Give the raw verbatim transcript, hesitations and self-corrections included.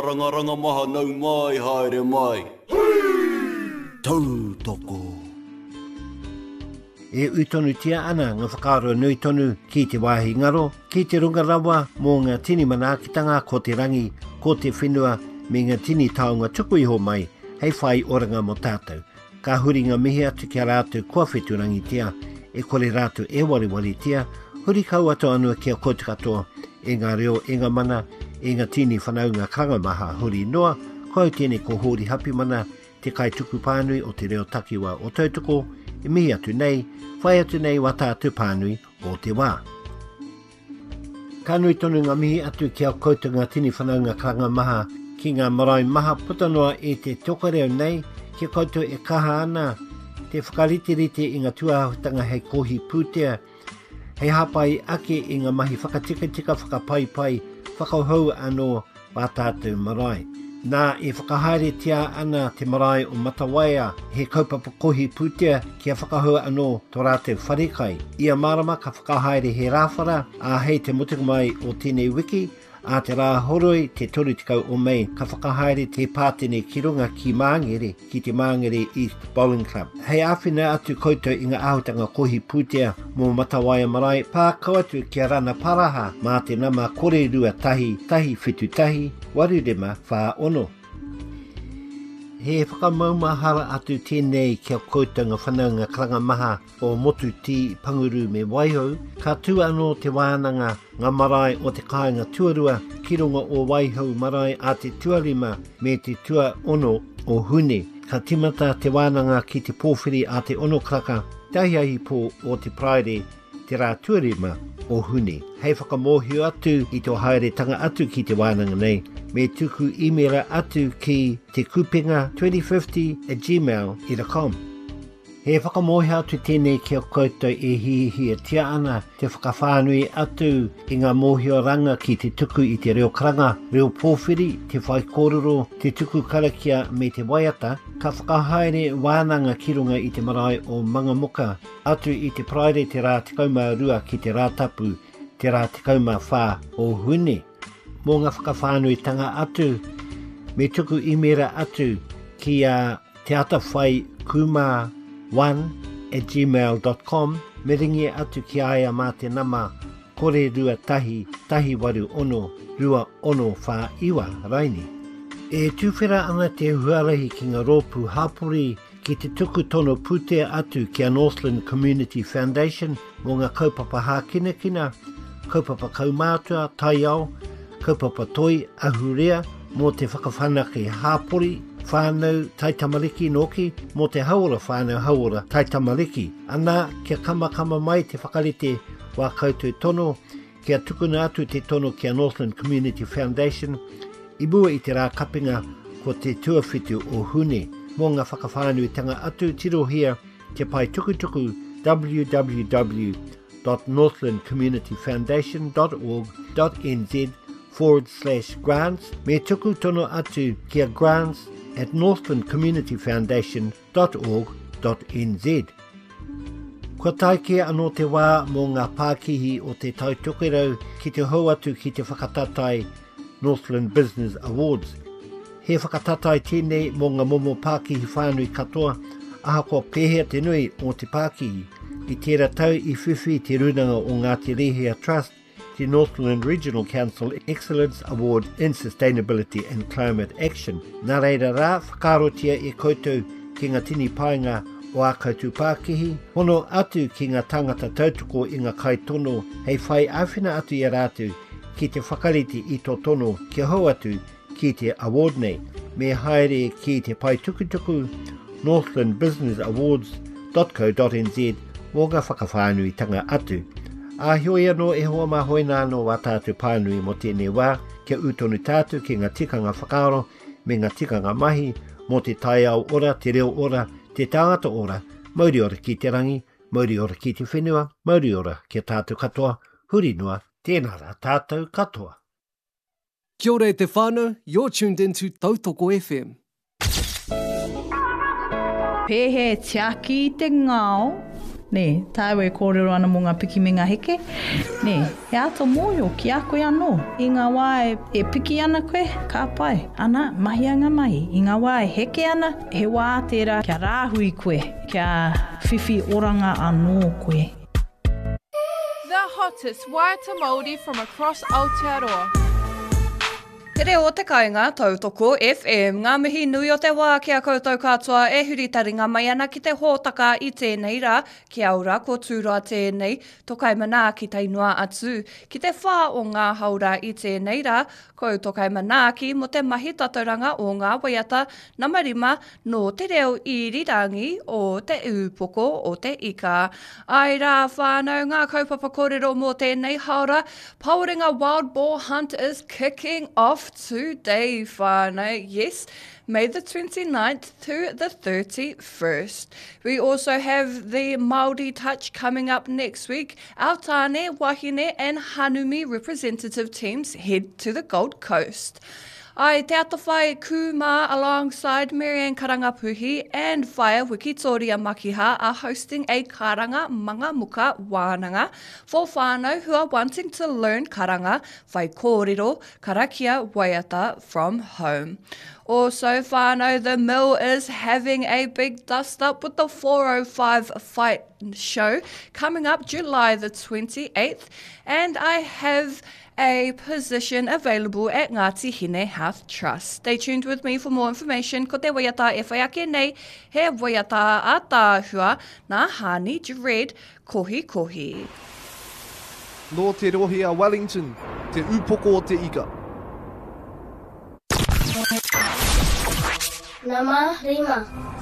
Rangaranga maha nau mai haere mai. Tautoko. E ū tonutia ana ngā whakaaro nui tonu ki te wāhi ngaro, ki te runga rawa mō ngā tini manaakitanga ko te rangi, ko te whenua me ngā tini taonga tuku iho mai hei whai oranga mō tātou. Ka huri ngā mihi atu ki a rātou kua whetūrangitia, e kore rātou e warewaretia, huri kau atu anō ki a koutou katoa, e ngā reo, e ngā mana, e ngā tini whanaunga karanga maha huri noa, ko au tēnei ko Hōri Hapimana, te kaituku pānui o te reo takiwā o Tautoko, e mihi atu nei, whai atu nei wā tātou pānui o te wā. Ka nui tonu ngā mihi atu ki a koutou ngā tini whanaunga karanga maha, ki ngā marae maha puta noa i te tokerau nei, ki a koutou e kaha ana te whakariterite i ngā tūāhutanga hei kohi pūtea, hei hāpai ake i ngā mahi whakatikatika, whakapaipai, whakahou anō wā tātou marae. Nā, e whakahaeretia ana te marae o Matawaia, he kaupapa kohi pūtea kia whakahou anō tō rātou wharekai. Ia marama ka whakahaere he rāwhara, ā, hei te mutunga mai o tēnei wiki, ā te rā horoi te toru tekau o Mei, ka whakahaere te pātene ki runga ki Māngere, ki te Māngere East Bowling Club. Hei āwhina atu koutou i ngā āhutanga kohi pūtea mō Matawaia Marae, pā kau atu ki a Rana Paraha mā te nama kore rua tahi, tahi whitu tahi, waru rima whā ono. He whakamaumahara atu tēnei ki a koutou ngā whanaunga karanga maha o Motutī, Panguru me Waihou, ka tū anō te wānanga ngā marae o te kāinga tuarua ki runga o Waihou marae a te tuarima me te tuaono o Hune. Ka timata te wānanga ki te pōwhiri a te ono karaka, te ahiahi pō o te Paraire, te rā tuarima o Hune. Hei whakamōhio atu i tō haeretanga atu ki te wānanga nei, me tuku īmēra atu ki te kupenga twenty fifty at gmail dot com. He whakamōhio atu tēnei ki a koutou e hihiatia ana te whakawhānui atu i ngā mōhioranga ki te tuku i te reo karanga, reo pōwhiri, te whaikōrero, te tuku karakia me te waiata, ka whakahaere wānanga ki runga i te marae o Mangamuka, atu i te Paraire te rā tekau mā rua ki te Rātapu, te rā tekau mā whā o Hune. Mō ngā whakawhānuitanga atu, me tuku īmēra atu ki a Te Atawhai Kumar one at gmail dot com, me ringi atu ki a ia mā te nama kore rua tahi, tahi waru ono, rua ono whā iwa, raini. E tuwhera ana te huarahi ki ngā rōpū hapori ki te tuku tono pūtea atu ki a Northland Community Foundation mō ngā kaupapa hākinakina, kaupapa kaumātua, taiao, kaupapa toi, ahurea, mō te whakawhanake hāpori, whānau, taitamariki nōki, mō te hauora whānau hauora taitamariki. Anā, kia kamakama mai te whakarite wā koutou tono, kia tukuna atu te tono ki a Northland Community Foundation i mua i te rā kapinga ko te tuawhitu o Hune. Mō ngā whakawhānuitanga atu, tirohia te pae tukutuku w w w dot northland community foundation dot org dot n z forward slash grants me tuku tono atu ki a grants at northland community foundation dot org dot n z. Kua tae kē anō te wā mō ngā pākihi o te Tai Tokerau ki te hou atu ki te whakataetae Northland Business Awards. He whakataetae tēnei mō ngā momo pākihi whānui katoa, ahakoa pēhea te nui o te pākihi. I tērā tau i whiwhi te Rūnanga o Ngāti Rehia Trust te Northland Regional Council Excellence Award in Sustainability and Climate Action. Nā reira rā, whakaarotia e koutou ki ngā tini painga o ā koutou pākihi, hono atu ki ngā tāngata tautoko i ngā kaitono hei whai āwhina atu i a rātou ki te whakarite i tō tono kia hou atu ki te award nei. Me haere ki te pae tukutuku northland business awards dot co dot n z mō ngā whakawhānuitanga atu. Ā, heoi anō e hoa mā hoina anō wā tātou pānui mō tēnei wā, kia ū tonu tātou ki ngā tikanga whakaaro me ngā tikanga mahi mō te taiao ora, te reo ora, te tāngata ora, mauri ora ki te rangi, mauri ora ki te whenua, mauri ora ki a tātou katoa, huri noa, tēnā rā tātou katoa. Kia ora e te whānau, you're tuned into Tautoko F M. Pēhea tiaki i te ngao, Nē, tāu e kōrero ana mō ngā piki me ngā heke, nē, he āta mōhio ki a koe anō. I ngā wā e, e piki ana koe, ka pai. Ana, mahia ngā mahi. I ngā wā e heke ana, he wā tērā kia rāhui koe, kia whiwhi oranga anō koe. The hottest waiata Māori from across Aotearoa. Te reo o te kainga, Tautoko F M. Ngā mihi nui o te wā ki a koutou katoa e huri taringa mai ana ki te hōtaka i tēnei rā. Kia ora, ko Tūroa tēnei, to kai manaaki tae noa atu ki te whā o ngā haora i tēnei rā, ko to kai manaaki mo te mahi tatauranga o ngā waiata nama rima nō te reo irirangi o Te Ūpoko o te Ika. Ai rā whānau, ngā kaupapa kōrero mō tēnei haora, Paoringa Wild Boar Hunt is kicking off today, whānau. Yes, May the twenty-ninth to the thirty-first. We also have the Māori Touch coming up next week. Our tāne, wahine and hanumi representative teams head to the Gold Coast. I Te Atawhai Kumar alongside Marianne Karangapuhi and Whaea Wikitoria Makiha are hosting a karanga mangamuka wānanga for whānau who are wanting to learn karanga, whai kōrero, karakia waiata from home. Also, whānau, the Mill is having a big dust up with the four oh five Fight Show coming up July the twenty-eighth, and I have a position available at Ngāti Hine Health Trust. Stay tuned with me for more information. Ko te waiata e whai ake nei, he waiata ātaahua nā Hani Dread, Kohi Kohi. Nō te rohe a Wellington, Te Ūpoko o te Ika. Nama rima.